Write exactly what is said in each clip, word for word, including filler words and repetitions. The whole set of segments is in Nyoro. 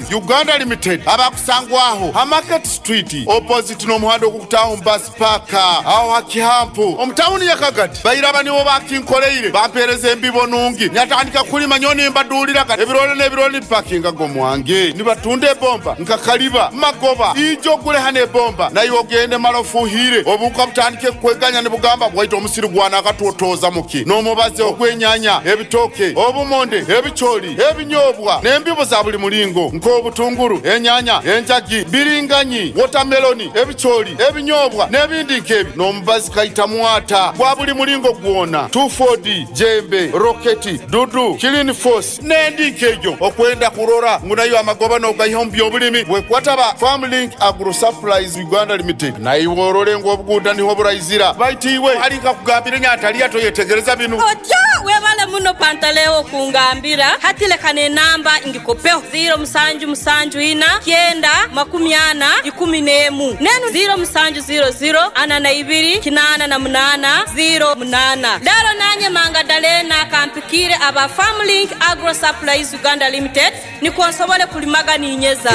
Supplies Uganda Limited abakusangwaho ha Market Street opposite n'omuhanda ogukutaaho bus park aho ha Kihampu omu tawuni ya Kagadi. Bairaba nibo bakinkoleire, bampeereza embibo nungi, nyatandika kulima nyo nimbaduuliraga ebirole n'ebirole nibipakinga g'omwange nibatunda ebomba nka kaliba magoba ijo ogule hano ebomba naye ogende mala ofuhire obuuka butandike kweganya nibugamba bwaita omusiri gwana akatwotoza muki n'omubazi ogw'enyanya, ebitooke, obumonde, ebicooli, ebinyobwa n'embibo za buli mulingo nk'obutunguru, enyanya, enjagi, biringanyi, wotameloni, ebicooli, ebinyobwa n'ebindi nk'ebyo n'omubazi kaita mwata gwa buli mulingo gwona two four D, jembe, roketi, dudu, clean force n'endi nk'ejo. Okwenda kurora ngu nayo amagoba n'ogaiha omu byobulimi, wekwataba Farmlink Agro Supplies Uganda Limited naiwe orole ngu obuguuda niho buraizira. Baita iwe ali nkakugambire nyantaliya toyetegereza binu. Otyo webale muno Pantaleo kungambira. Hati leka n'enamba ngikopeho ziro musanju musanju ina kyenda makumi ana ikumi n'emu nenu ziro musanju ziro ziro ana na ibiri kinaana na munaana ziro munaana. Lero nanye Mangadalena kampikire aba Farmlink Agro Supplies Uganda Limited nikwo nsobole kulimaga ninyeza.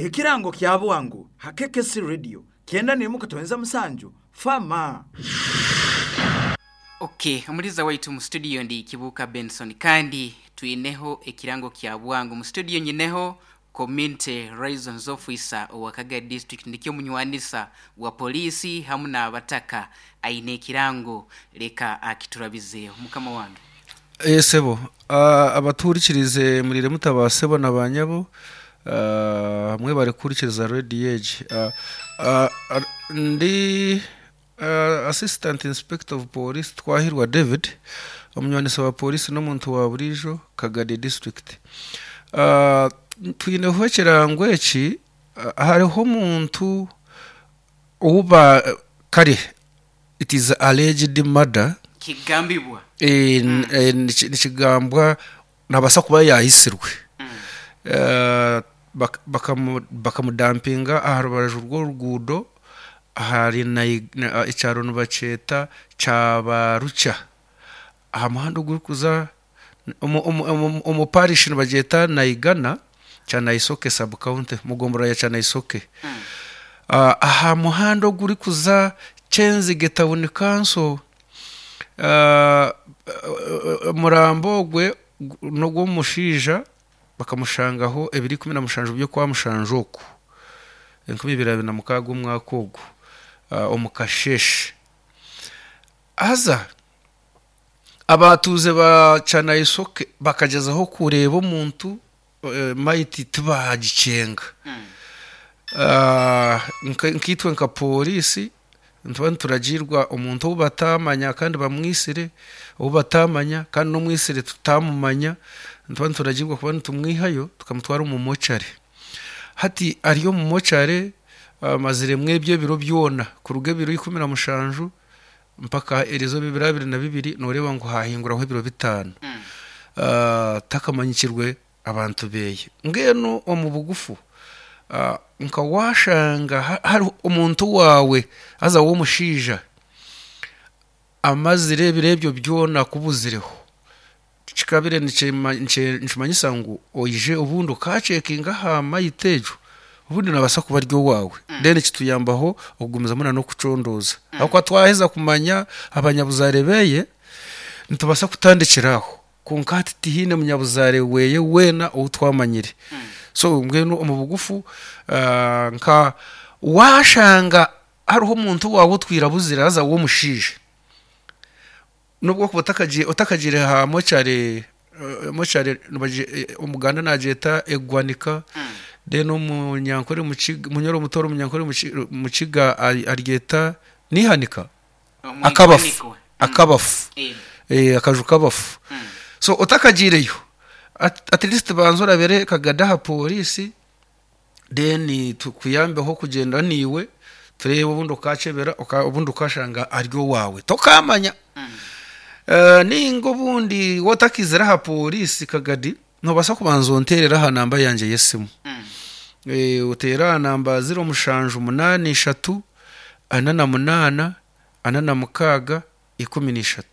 Ekirango kya bwangu ha K K C Radio kyenda nemu katonza musanju fama. Okay, omuliza waitu mu studio ndi Kibuka Benson, kandi twineho ekirango kya bwangu mu studio. Nyineho community liaisons officer owa Kagadi District, nikyo munywanisa wa polisi hamu n'abataka. Aine ekirango, leka akiturabizeeho mukama wange. Esebo, abaturikirize murire mutabasebo na banyabo hamwe bari kurikiriza Radio Age. Ah, ah, ndi ah, Assistant Inspector of Police Twahirwa David, omunywanisa wa polisi n'omuntu wa burijo Kagadi District. Ah, twineho ekirango eki. ah, hariho omuntu uba kare, it is alleged murder. Kigambibwa. Eh, n- eh, niki- nikigambwa nabasa kuba yahisirwe. Eh, bak- bakamu- bakamudampinga aha rubaju rw'oruguudo ahari Nai- na- ekyaro nibakyeta Kyabarucha aha muhanda ogurikuza omu- omu- omu- omu parish nibagyeta Naigana, Kyanaisoke sub county, mugombora ya Kyanaisoke. Ah, aha muhanda ogurikuza Kyenzige Town Council. Ah, omurambo ogwe n'ogw'omushaija bakamushangaho ebiri ikumi na mushanju by'okwa mushanju oku enkumi ibiri abiri na mukaaga omwaka ogu, ah, omu kasheshe. Haza abatuuze ba Kyanaisoke bakagyezaho kureeba omuntu, eh, maiti tibagikyenga. Ah, nka- nkaitwe nka polisi nituba nituragirwa omuntu ou batamanya kandi bamwisire, ou batamanya kandi n'omwisire tutamumanya, nituba nituragirwa kuba nitumwihayo tukamutwara omu mochari. Hati ari omu mochari amaziremu ebyo ebiro byona kuruga ebiro ikumi na mushanju mpaka erizo bibiri abiri na bibiri, noreeba ngu hahinguraho ebiro bitaano. Ah, takamanyikirwe abantu beye. Mbwenu omu bugufu, ah, nka washanga ha- hariho omuntu wawe haza w'omushaija amazire ebiro ebyo byona akubuzireho, kikabire nikima- niky- nikimanyisa ngu oije obundi okacekinga aha mayiti egyo, obundi nabasa kuba ari owaawe. Then kituyambaho okugumizamu na n'okucondooza, ahakuba twaheza kumanya abanyabuzaare beye nitubasa kutandikira aho. Konka hati tihaine munyabuzaare weye weena ou twamanyire. So mbwenu omu bugufu, ah, nka washanga hariho omuntu wawe otwirabuzire haza w'omushaija, nubwo kuba otakagiire otakagiire ha mochari, eh, mochari nibagy- eh, omuganda nagyeta egwanika, then omunyankore Mukiga- munyoro mutoro omunyankore Muki- mukiga ari- aryeta nihanika akabafu. Omwihanikwa. Akabafu. Eh, eh, akaju kabafu. So otakagiireyo, at, at least banza orabere Kagada aha polisi, then tukuyambeho kugenda niiwe turebe obundi okacebera oka- obundi ukashanga ari owawe tokamanya. Uh, ninga obundi wotakizire aha polisi Kagadi, nobasa kubanza onterera aha namba yanje y'esimu. Eh, uteera aha namba ziro mushanju munaani ishatu ana na munaana ana na mukaaga ikumi n'ishatu.